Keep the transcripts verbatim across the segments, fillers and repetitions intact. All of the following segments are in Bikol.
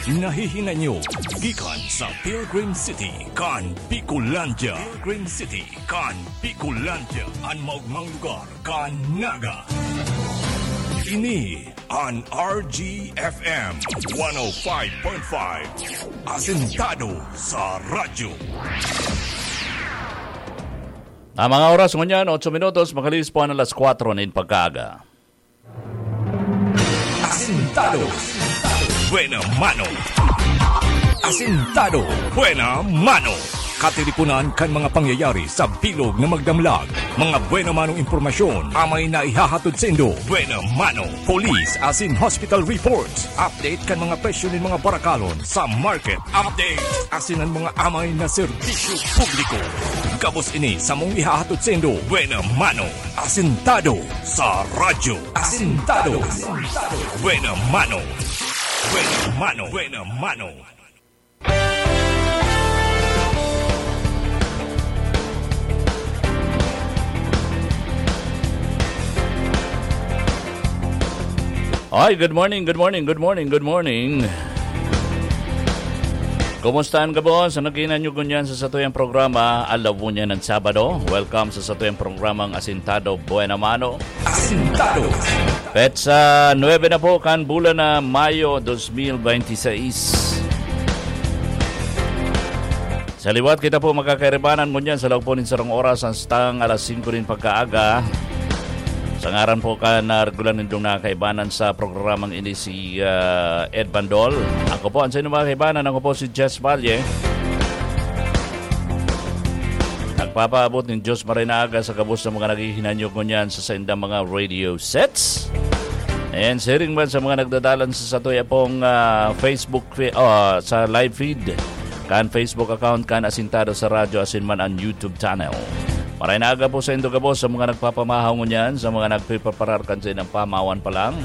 Nahihinanyo gikan sa Pilgrim City kan Bicolandia. Pilgrim City kan Bicolandia, an maogmang lugar kan Naga. Ini an R G F M one oh five point five, asentado sa radyo. Ang mga oras ngunyan, otso minutos, makalihis po an alas kwatro nin pagkaaga. Asentado. Buena mano. Asentado. Buena mano. Katiriponan kan mga pangyayari sa bilog na magdamlag. Mga buena manong impormasyon, amay na ihahatod saindo. Buena mano. Police asin hospital reports. Update kan mga presyo nin mga barakalon sa market. Update asin an mga amay na serbisyo publiko. Gabos ini samong ihahatod saindo. Buena mano. Asentado sa radyo. Asentado. Buena mano. Buena mano. Buena mano. Ay, good morning, good morning, good morning, good morning. Kumusta an gabos? Ano kinan nyo ngunyan sa satuyang programa? Alaw ngunyan ng Sabado. Welcome sa satuyang programang Asintado Buena Mano. Asintado. Petsa nuebe na po kan bulan na Mayo dos mil bente seis. Sa liwat kita po makakairibanan ngunyan sa laog po nin sarong oras hastang alas singko nin pagkaaga. Sa ngaran po kan, ah, regular nindong nakakaibanan sa programang ini si, ah, Ed Bandol. Ako po, ang sa inyong mga kaibanan, ako po si Jess Valle. Nagpapaabot nin Diyos maray na aga sa gabos ng mga naghihinanyog ngunyan sa saindang mga radio sets. And siring man sa mga nagdadalan sa satuya pong, ah, Facebook fe-, ah, sa live feed, kan Facebook account kan Asintado sa Radyo asin man an YouTube channel. Maray na aga po saindo gabos sa mga nagpapamahaw ngunyan, sa mga nagpepreparar kan saindang pamahawan pa lang,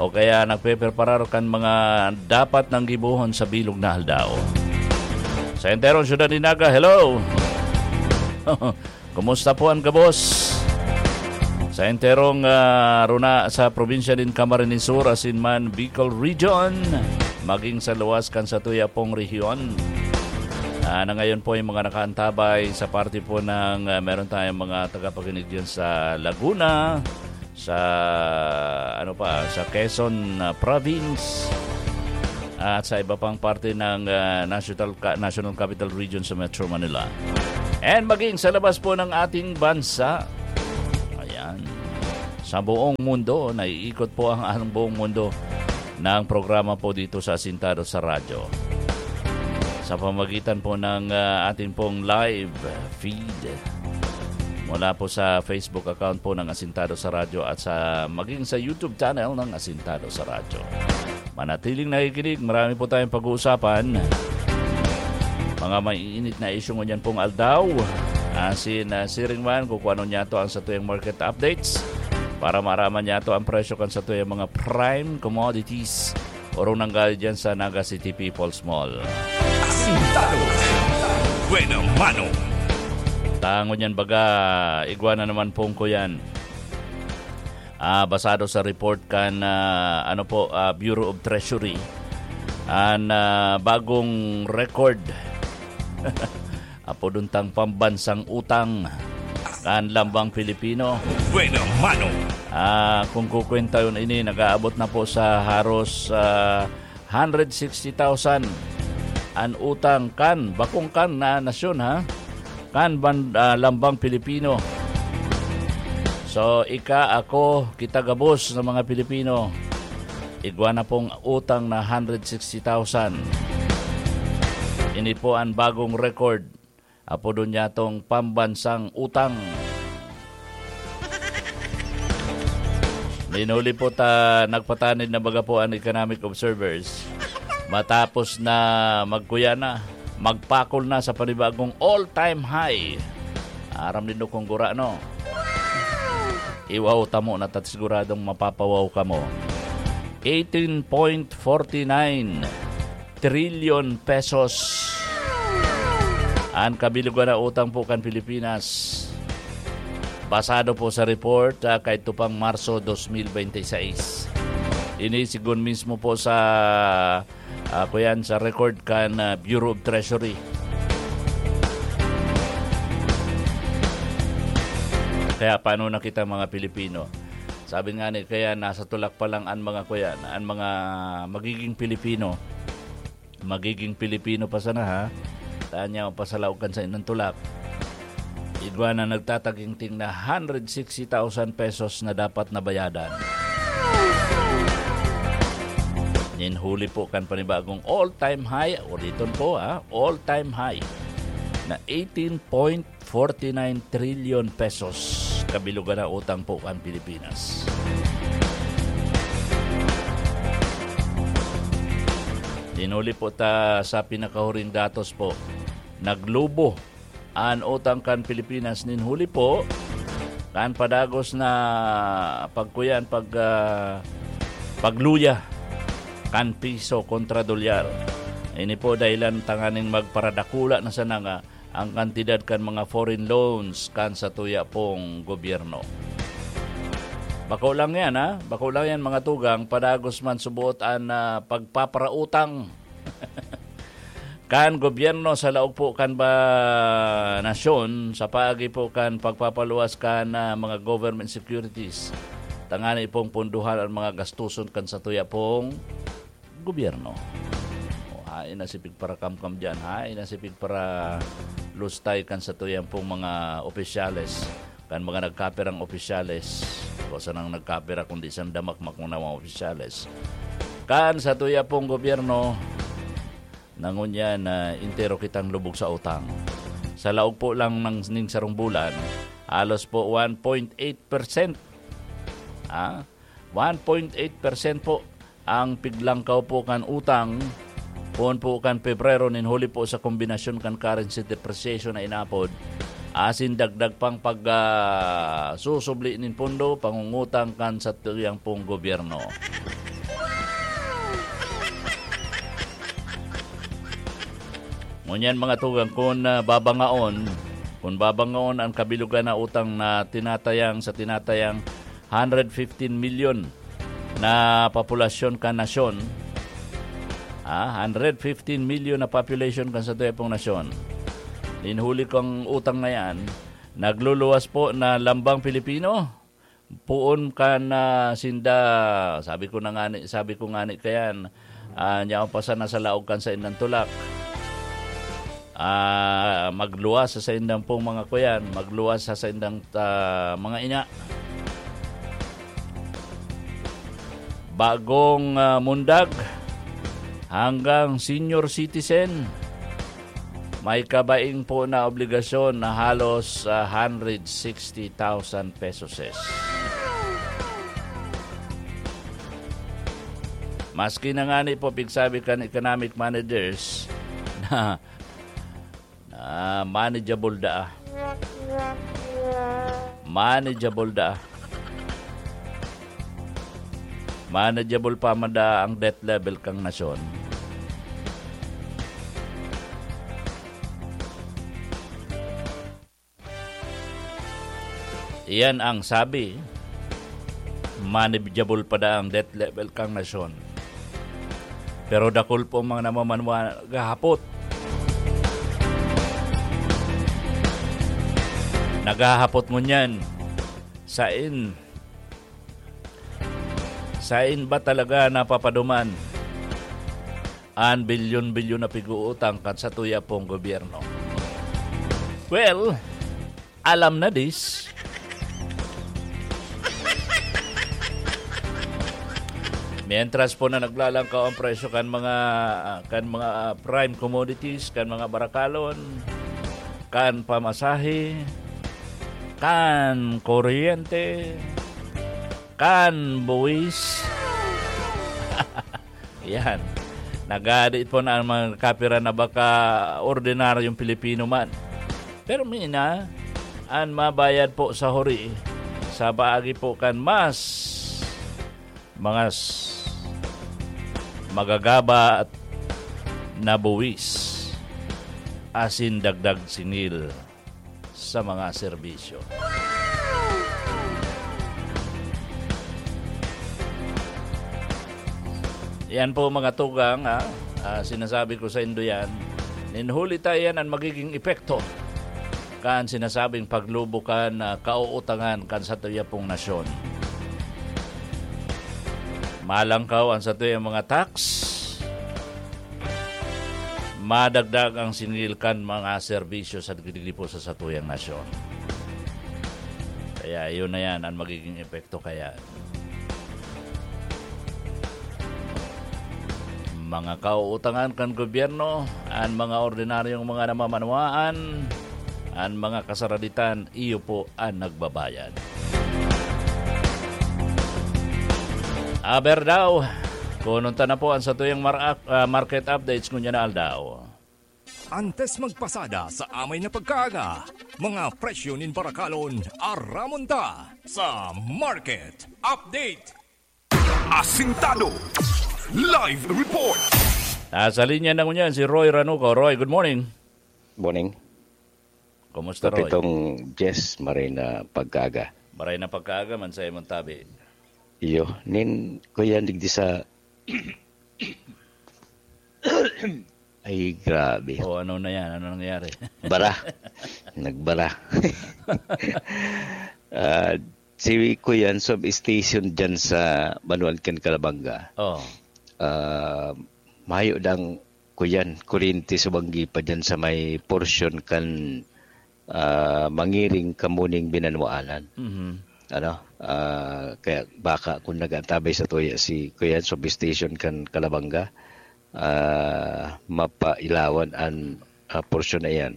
o kaya nagpepreparar kan mga dapat nang gibohon sa bilog na aldaw. Sa enterong syudad ni Naga, hello! Kumusta po an gabos? Sa enterong, ah, runa sa probinsya nin Camarines Sur, asin man Bicol Region, maging sa luwas kan satuya pong rehiyon. Ah, na ngayon po yung mga nakaantabay sa parte po ng, ah, meron tayong mga tagapakinig dyan sa Laguna, sa, ano pa, sa Quezon, ah, Province, at sa iba pang parte ng, ah, National Ca-, National Capital Region sa Metro Manila. And maging sa labas po ng ating bansa. Ayan. Sa buong mundo, naiikot po ang, ang buong mundo ng programa po dito sa Asintado sa Radyo. Sa pamagitan po ng, ah, ating pong live feed mula po sa Facebook account po ng Asintado sa Radyo at sa, maging sa YouTube channel ng Asintado sa Radyo. Manatiling nakikinig, marami po tayong pag-uusapan. Mga maiinit na isyu ngunyan pong aldaw. Asin, ah, siring man, kung ano niya to ang satuyang market updates para maaraman niya to ang presyo kan satuyang mga prime commodities. Orong nanggaling dyan sa Naga City People's Mall. Asintado. Buena mano. Tango niyan baga, igwa na naman pong ko yan. Ah, basado sa report kan, ah, ano po, ah, Bureau of Treasury, an, ah, bagong record. Apodon tang pambansang utang kan lambang Pilipino. Buena mano. Ah, kung kukwenta yun ini, nag-aabot na po sa haros, ah, hundred sixty thousand an utang kan, bakong kan na nasyon, ha? Kan ban-, ah, lambang Pilipino. So, ika, ako, kita gabos na mga Pilipino, igwa na pong utang na hundred sixty thousand. Ini po ang bagong record. Apodon niya tong pambansang utang. Linuli po ta, nagpatanid na baga po ang economic observers. Matapos na magkuya na, magpakol na sa panibagong all-time high. Aram nindo kung gura, no? Iwaw tamo na tat siguradong mapapawaw kamo. Eighteen point forty nine trillion pesos an kabilugan na utang po kan Pilipinas. Basado po sa report, ah, kaidto pang Marso dos mil bente seis. Ini sigon mismo po sa Ako yan sa record kan, ah, Bureau of Treasury. Kaya paano na kita, mga Pilipino? Sabi nga ni, kaya nasa tulak pa lang ang mga kuyan, ang mga magiging Pilipino. Magiging Pilipino pa sana, ha? Tanya o pasalaog kan sa inang tulak. Igwa na nagtataginting na hundred sixty thousand pesos na dapat nabayadan. Nin huli po kan panibagong all-time high, uliton po, ha, all-time high na eighteen point forty-nine trillion pesos kabilugan na utang po kan Pilipinas. Dinuli po ta sa pinakahuring datos po, naglubo an utang kan Pilipinas nin huli po kan padagos na pagkuyan, pag, ah, pagluya kan piso kontra dolyar. Ini po dahilan tanganing magparadakula na sana nga ang kantidad kan mga foreign loans kan satuya pong gobyerno. Bako lang yan, ha? Bako lang yan, mga tugang, padagos man subuot an, ah, pagpaparautang kan gobyerno sa laog po kan ba nasyon sa paagi po kan pagpapaluwas kan, ah, mga government securities. Tangani pong punduhan ang mga gastuson kan satuya pong gobyerno. O, hain na si pigparakamkam diyan, hain na si pigparalustay kan satuyang pong mga opisyales, kan mga nagkapirang opisyales. O, sanang nagkapira kundi sang damakmak mo na mga opisyales. Kan satuya pong gobyerno, nangunyan na entero kitang lubog sa utang. Sa laog po lang ng ning sarong bulan, halos po one point eight percent. Ah, one point eight percent po ang piglangkaw po kan utang poon po kan Pebrero nin huli po sa kombinasyon kan currency depreciation na inapod asin dagdag pang pag, ah, susubli nin pondo, pangungutang kan satuyang pong gobyerno. Ngunyan, mga tugang, kun, ah, babangaon, kun babangaon ang kabilugan na utang na tinatayang, sa tinatayang hundred fifteen million na populasyon kan nasyon, ah, hundred fifteen million na population kan satuya pong nasyon. Nin huli kong utang na yan, nagluluwas po na lambang Pilipino. Poon kan, ah, sinda, sabi ko na ngani, sabi ko ngani kayan, ah, nyaon pa sana sa laog kan saindang tulak. Ah, magluwas sa saindang pong mga kuyan, magluwas sa saindang, ah, mga ina. Bagong, ah, mundag hanggang senior citizen, may kabaing po na obligasyon na halos, ah, hundred sixty thousand pesos. Maski na ngani po, pigsabi kan economic managers na, na manageable daa. Manageable daa. Manageable pa man daa ang debt level kan nasyon. Iyan ang sabi, manageable pa daa ang debt level kan nasyon. Pero dakul po ang mga namamanwa naghahapot. Naghahapot ngunyan, sain, sain ba talaga napapaduman an bilyon-bilyon na pig-uutang kan satuya pong gobyerno? Well, alam na dis. Mientras po na naglalangkaw ang presyo kan mga, kan mga, ah, prime commodities, kan mga barakalon, kan pamasahe, kan kuryente, kan buwis. Yan. Nagadi po na ang mga kapira na baka ordinaryong Pilipino man. Pero mina, an mabayad po sa huri, sa paagi po kan mas mga s-, magagaba at na buwis, asin dagdag singil sa mga serbisyo. Yan po, mga tugang, ah, ah, sinasabi ko sa indo yan. Nin huli ta, yan an magiging epekto kan sinasabing paglubo kan, ah, kauutangan kan satuya pong nasyon. Malangkaw an satuyang mga tax, madagdag ang singil kan mga serbisyo sa digdi po sa satuyang nasyon. Kaya yun na yan ang magiging epekto kaya. Mga kauutangan kan gobyerno, an mga ordinaryong mga namamanwaan, an mga kasaraditan, iyo po an nagbabayad. Aber daw, kunon ta na po an satuyang mar-, ah, market updates ngunyan na aldaw. Antes magpasada sa amay na pagkaaga, mga presyo nin barakalon, aramon ta sa Market Update. Asintado. Live report. Nasa linya na ngunyan si Roy Ranuco. Roy, good morning. Morning. Kumusta, Roy? Kapitong Jess, maray na pagkaaga. Maray na pagkaaga man sa imong tabi. Iyo, nin, kuya, digdi sa Ay, grabe. O, ano na yan? Ano nangyari? Bara. Nagbara. Ah, si Kuyan, substation dyan sa Banuan kan Calabanga. Oh. Ah, mayo dang, Kuyan, kuryente subanggi pa dyan sa may portion kan ah, mangiring kamo ning binanuanan. Mhm. Ano? Ah, kaya baka kung nag-antabay sa tuya si Kuya, substation kan Calabanga, ah, mapailawan an, ah, porsyon na iyan.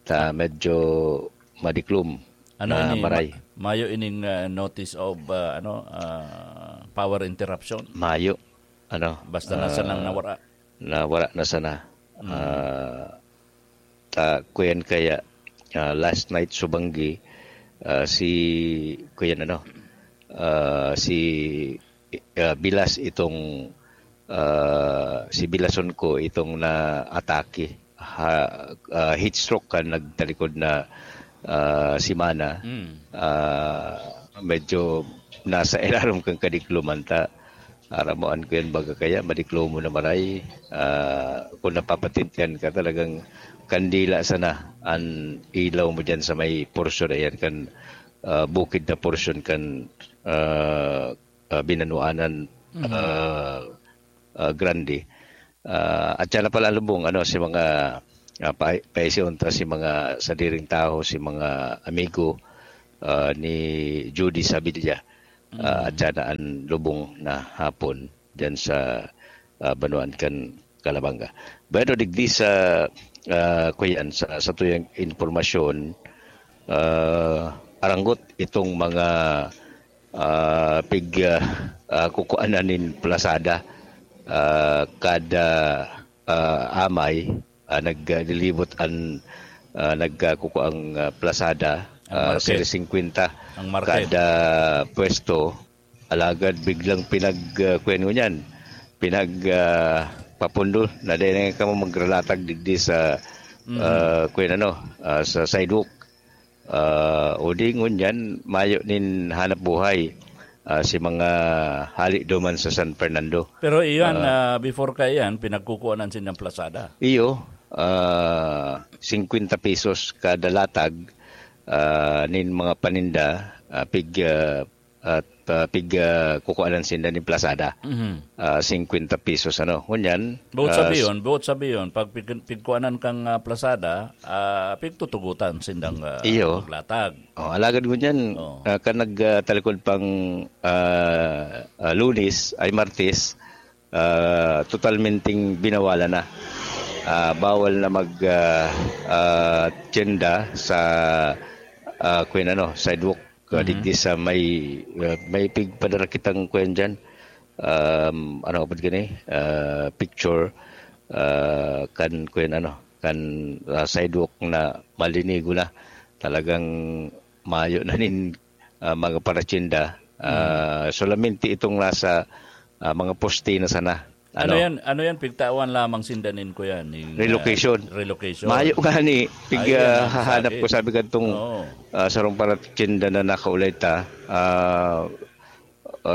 Ta medyo madiklom Ano na ini? maray. Ma- mayo ining ah, notice of ah, ano ah, power interruption? Mayo. Ano? Basta nasa ah, nang nawara. na wala na sana. Mm. Ah, ta kuyan kaya, ah, last night subanggi, ah, si kuyan ano, ah, si ah, Bilas itong ah, si Bilason ko itong naatake. Ha, ah, heat stroke kan nagtalikod na ah, semana. Mm. Ah, medyo nasa ilarom kan kadikloman ta. Aramoan ko yan baga kaya, madiklomo na maray. Ah, kung napapatintihan ka, talagang kandila sana an ilaw mo dyan sa may porsyon na yan, kan ah, bukid na porsyon kan ah, ah, binanuanan Mhm. ah, ah, grande. Ah, at siya na pala lubong, ano, si mga ah, pa, paisi unta si mga sadiring tawo, si mga amigo ah, ni Judy Sabilla. Ah, at siya na an lubong na hapon dyan sa ah, banuan kan Calabanga. Bueno, digdi sa ah, kuyan, sa, sa tuyang impormasyon, ah, aranggot itong mga ah, pig ah, ah, kukuanan nin plasada ah, kada ah, amay ah, naglilibot an ah, nagkakukuang ah, plasada Ang ah, market. seri singkwenta Ang market. kada pwesto. Alagad biglang pinag ah, kuwan ngunyan, pinag ah, papundo na dahil nga kamo magralatag digdi sa Mhm. ah, kuwan ano, ah, sa sidewalk. Ah, o di ngunyan, mayo nin hanap buhay ah, si mga hali duman sa San Fernando. Pero iyan, Ah. ah, before ka iyan, pinagkukuanan sindang plasada. Iyo, ah, singkwenta pesos kada latag ah, nin mga paninda, ah, pig ah, at ah, pig ah, kukuanan sinda nin plasada. Mhm. Ah, singkwenta pesos ano. Ngunyan, Buot ah, sabiyon, buot sabiyon, pag pig-, pigkuanan kang ah, plasada, ah, pigtutugutan sindang ah, Iyo. maglatag. Oh, alagad ngunyan, Oo. ah, kan nagtalikod pang ah, ah, Lunes ay Martes, ah, totalmenteng binawalan na. Ah, bawal na mag ah, ah, tienda sa ah, kuwan ano, sidewalk. Ah, Mhm. digdi sa may ah, may pigpadara kitang kuwan diyan. Um, ano pud gani? Ah, picture ah, kan kuwan ano, kan ah, sidewalk na malinigo na. Talagang mayo na nin ah, mga paratienda. Ah, solamente itong nasa ah, mga poste na sana. Ano yan? Ano yan? Pigtawan lamang sinda nin, kuya, ning ah, Relocation. Relocation. Mayo nga ni, pig Ayun, ah, ang hahanap sabi. Ko, sabi kadtong Oo. ah, sarong paratienda na nakaulay ta. Ah,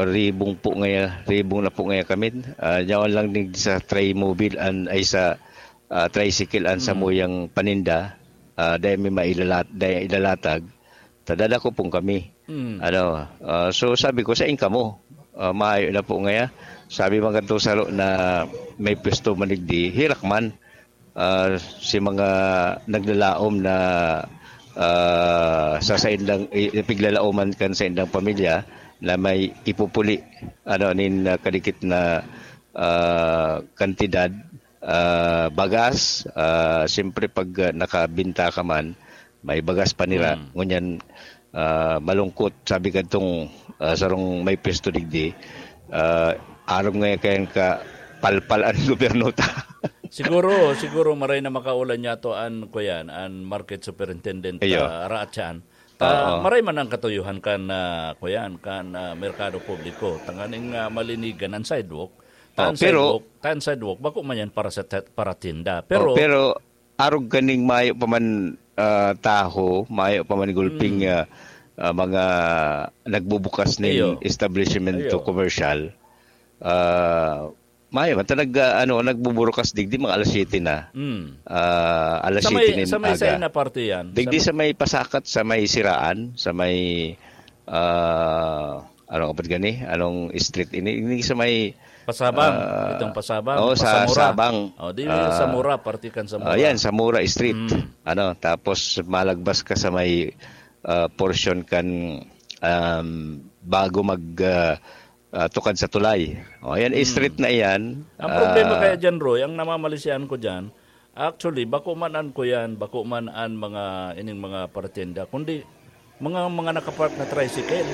ribong po ngaya, ribong na po ngaya kami. Ah, yaon lang din sa Trimobile an, ay sa, ah, tricycle an Hmm. samuyang paninda. Ah, dahil may mailalat-, dahil ilalatag, tadada ko pong kami. Hmm. Ano, ah, so sabi ko, "Sain kamo?" Ah, mayo na po ngaya. Sabi man kadto saro na may pwesto man digdi, hirak man. Ah, si mga naglalaom na, ah, sa saindang, i-, ipiglalaoman kan saindang pamilya na may ipupuli, ano, nin, ah, kadikit na, ah, kantidad, ah, bagas. Ah, siyempre, pag, ah, nakabinta ka man, may bagas pa nira. Hmm. Ngunyan, ah, malungkot, sabi kadtong, ah, sarong may pwesto digdi, ah, arog nga kayan ka palpal an gobyerno ta. Siguro, siguro maray na makaulan niya to an, kuyan, an market superintendent, Iyo. ah, Raatyan. Ta, Oo. maray man ang katuyuhan kan, ah, kuyan, kan, ah, merkado publiko. Tanganing, ah, malinigan ang sidewalk. Ta Oh, ang pero sidewalk, ta ang sidewalk, bako man yan para sa ta-, para tinda. Oh, Pero, pero arog kaning mayo pa man, ah, taho, mayo pa man gulping, Mm. ah, ah, mga nagbubukas ning Iyo. establishment to Iyo. commercial. Ah, mayo man ta nag, ah, ano, nagbuburukas digdi mga alas siyete na. Mm. Ah, alas Sa may, siyete nin sa may, sa aga. ina parte yan? Digdi Sa sa may pasakat, sa may siraan, sa may, ah, ano ka pa gani? Anong street ini? Ini sa may Pasabang. Ah, Itong Pasabang, oo, sa Pasamura. Sabang. Oh, di Ah, Samura, parte kan Samura. Ayan, Samura Street. Mm. Ano, tapos malagbas ka sa may, ah, portion kan, um, bago mag, ah, ah, tukad sa tulay. Oh, ayan, Mm. street na iyan. Ang problema Ah, kaya dyan, Roy, ang namamalisihan ko dyan, actually, bako man an kuyan, bako man an mga, ining mga paratenda, kundi mga, mga nakapark na tricycle.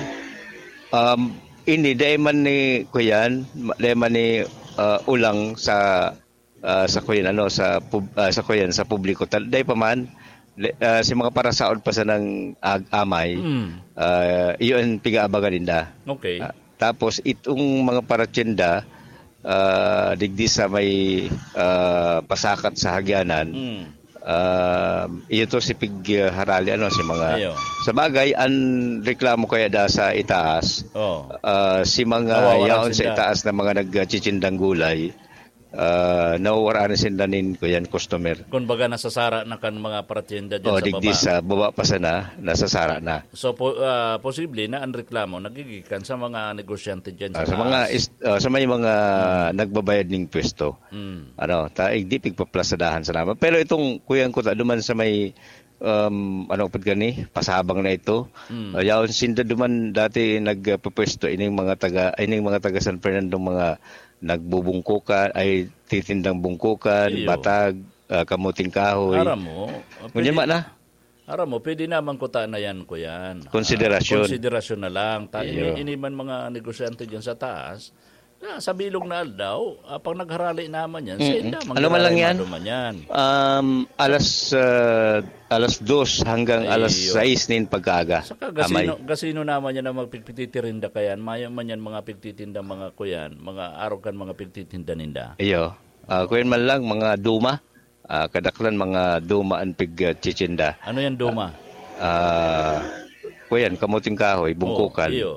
Um, ini, dai man ni kuyan, ma-, dai man ni, ah, ulang sa, ah, sa kuyan, ano, sa pub-, ah, sa kuyan, sa publiko. Tal-, dai pa man, le-, ah, si mga parasaod pa sa nang ag-, amay, Mm. ah, iyon ang pig-aabangan ninda. Okay. Ah, tapos, itong mga paratyenda, ah, digdi sa may, ah, pasakat sa hagyanan, Mm. ah, iyo to si pig, ah, harali, ano, si mga Ayo. Sa bagay, ang reklamo kaya da sa itaas, Oh. ah, si mga Nawawalan yaon sa sinda. itaas na mga nagchitsindang gulay, ah, nawawaran na sinda nin, kuyan, customer. Kumbaga, nasasara na kan mga paratyenda dyan Oh, sa digdi baba. sa baba pa sana, nasasara na. So, po, ah, posible na ang reklamo nagigikan sa mga negosyante dyan sa Ah, sa mga taas. is-, ah, sa may mga Hmm. nagbabayad ning pwesto. Hmm. Ano, ta, eh, di pigpaplazadahan sa naman. Pero itong kuyan ko ta, duman sa may, um, ano, pud gani, pasabang na ito. Hmm. Ah, yaon sinda duman dati nagpapwesto, ining mga taga, ining mga taga San Fernando, mga nagbubungkukan, ay titindang bungkukan, Iyo. batag, ah, kamuting kahoy. Aram mo, ah, Ngunyan pwede, ma na. aram mo, pwede naman kuta na yan, kuyan. Ah, Konsiderasyon. konsiderasyon na lang. Ta-, Iyo. ini, ini man mga negosyante dyan sa taas, na sa bilog na aldaw, ah, pag nagharali naman yan, sa Mm-mm. inda, Ano man lang yan? maduman yan. Um, alas, ah, alas dos hanggang alas Iyo. sais nin pagkaaga. Saka Amay. gasino, gasino naman yan ang magpigpititirinda kayan. Mayo man yan mga pigtitinda, mga kuyan, mga arogan, mga pigtitinda ninda. Iyo. Ah, kuyan man lang, mga duma. Ah, kadaklan mga duma an pig, ah, chichinda. Ano yan, duma? Ah, kuyan, kamuting kahoy, bungkukan. Oh, iyo.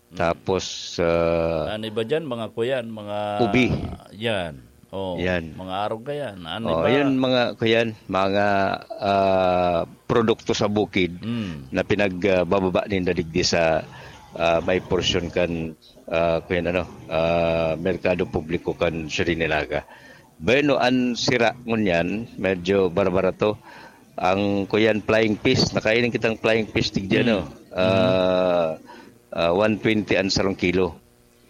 Mm. Tapos, ah, Ano iba dyan? Mga kuyan, mga Ubi. Yan. Oh, Yan. mga arog ka yan. Ano Oh, iba? yun, mga kuyan, mga, ah, produkto sa bukid Mm. na pinagbababa ninda digdi sa, ah, may porsyon kan, ah, kuyan, ano, ah, merkado publiko kan Sirinelaga. Bueno, an sira ngunyan, medyo barbara to. Ang kuyan flying fish, nakain kitang flying fish digdi, Mm. ano? Ah, Mm. ah, one twenty an sarong kilo.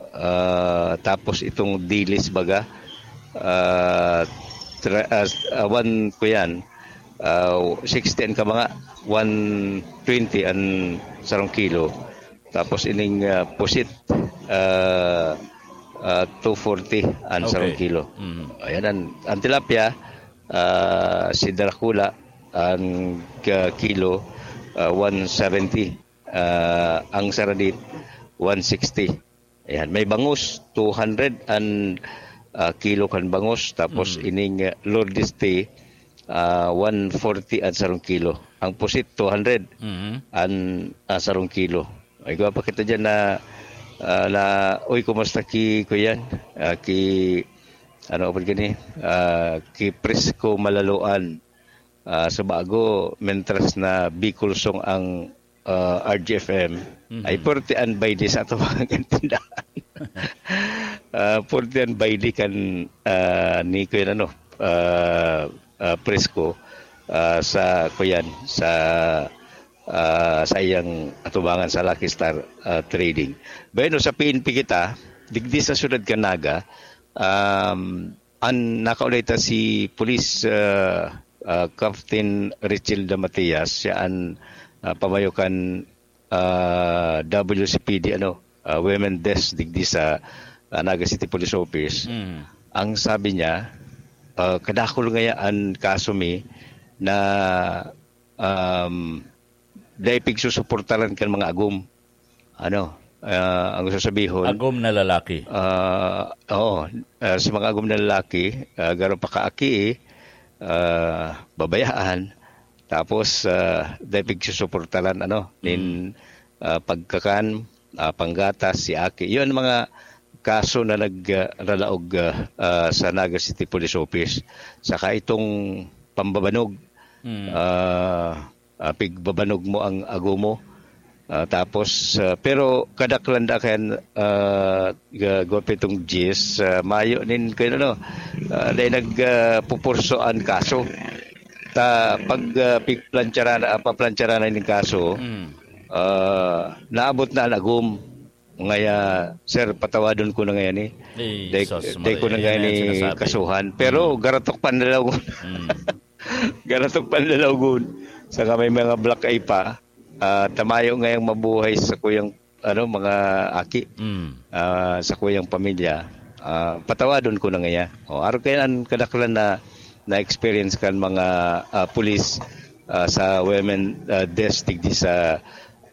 Ah, tapos itong dilis baga, ah, tra-, ah, ah, one kuyan, ah, sixty an kabanga, one twenty an sarong kilo. Tapos ining, ah, pusit, ah, ah, two forty an Okay. sarong kilo. Mm. Ayan, ang, ang tilapia, ah, si Dracula, ang, ah, kilo, ah, one seventy. Ah, ang saradit, one sixty. Ayan, may bangus, two hundred an, ah, kilo kan bangus. Tapos Mm. ining, ah, Lourdes tea, ah, one forty an sarong kilo. Ang pusit, two hundred Mhm. an, ah, sarong kilo. Ay, igwa pa kita dyan na, Ah, la, uy, kumusta ki, kuyan? Ah, ki, ano, apod gani? Ah, ki Prisco Malaloan. Ah, sa bago, mentras na Bicol Song ang, ah, R G F M, Mhm. ay forty an baili sa ato mga tindahan. Ah, forty an baili kan, ah, ni kuyan ano, ah, ah, Prisco, ah, sa kuyan, sa, ah, sa iyang atubangan sa Lucky Star, ah, Trading. Bueno, sa P N P kita, digdi sa siyudad kan Naga, um, an nakaulay ta si Police, ah, ah, Captain Richelda Matias, siya an, ah, pamayo kan, ah, W C P D, ano, ah, Women Desk digdi sa, ah, Naga City Police Office. Mm. Ang sabi niya, ah, kadakul ngaya an kaso mi na, um, dai pigsusuportaran kan mga agom. Ano, ah, ang sasabihon, Agom na lalaki. ah, oo, ah, sa mga agom na lalaki, ah, garo pa kaaki, ah, babayaan, tapos, ah, dai pigsusuportaran, ano, nin, Mm. ah, pagkakan, ah, panggatas, si aki. Yun ang mga kaso na nagralaog, ah, ah, sa Naga City Police Office. Saka itong pambabanog, Mm. ah, ah, pigbabanog mo ang agomo. Ah, tapos, ah, pero kadaklan da kayan, ah, ga-, gwapo itong Jis, ah, mayo nin, kaya ano, ah, dahil nag, ah, pupurso an kaso. Ta, pag, ah, pigplancharan, ah, paplancharan na nin kaso, Mm. ah, naabot na an agom. Ngaya, sir, patawadon ko na ngayon eh. Eh, Dai, sus, dai ko na Maria, ngayon yan ang eh sinasabi. kasuhan. Pero Mm. garatok panlalaw ko. Mm. Garatok panlalaw ko. Saka may mga black eye pa. Ah, tamayo ngayang mabuhay sa kuyang, ano, mga aki. Mm. Ah, sa kuyang pamilya. Ah, patawadon ko na ngaya. O, aro kayo ang kadaklan na na-experience kan mga, ah, pulis, ah, sa women, ah, desk digdi sa,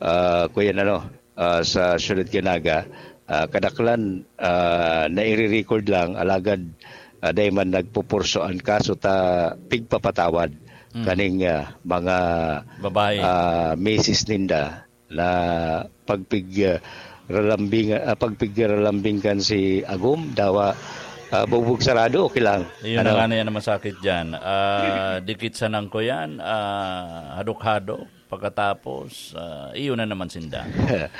ah, kuyan ano, ah, sa siyudad kan Naga, ah, kadaklan, ah, naire-record lang, alagad, ah, dai man nagpupurso an kaso ta pigpapatawad Mm. kaning, ah, mga, Babae. ah, misis ninda na pagpig, ah, ralambing, ah, pagpigralambing kan si Agom, dawa, ah, bugbog sarado, okay lang. Iyon Ano? na nga na yan ang masakit dyan. Ah, dikit sa nangko yan, ah, hadok-hadok. Pagkatapos, ah, iyo na naman sinda.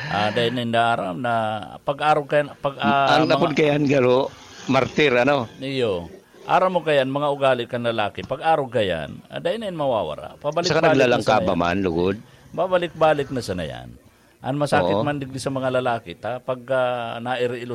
Ah, dahil ninda aram na pag-arog kayan, pag, ah, Ang mga napod kayan, garo, martir, ano? Iyo. Aram mo kayan, mga ugali kan lalaki, pag-arog kayan, ah, dahil na yan mawawara. Pabalik-balik Saka na naglalangkaba sana yan. man, lugod. Babalik-balik na sana yan. Ang masakit Oo. man digdi sa mga lalaki, ta, pag, ah, nairiilo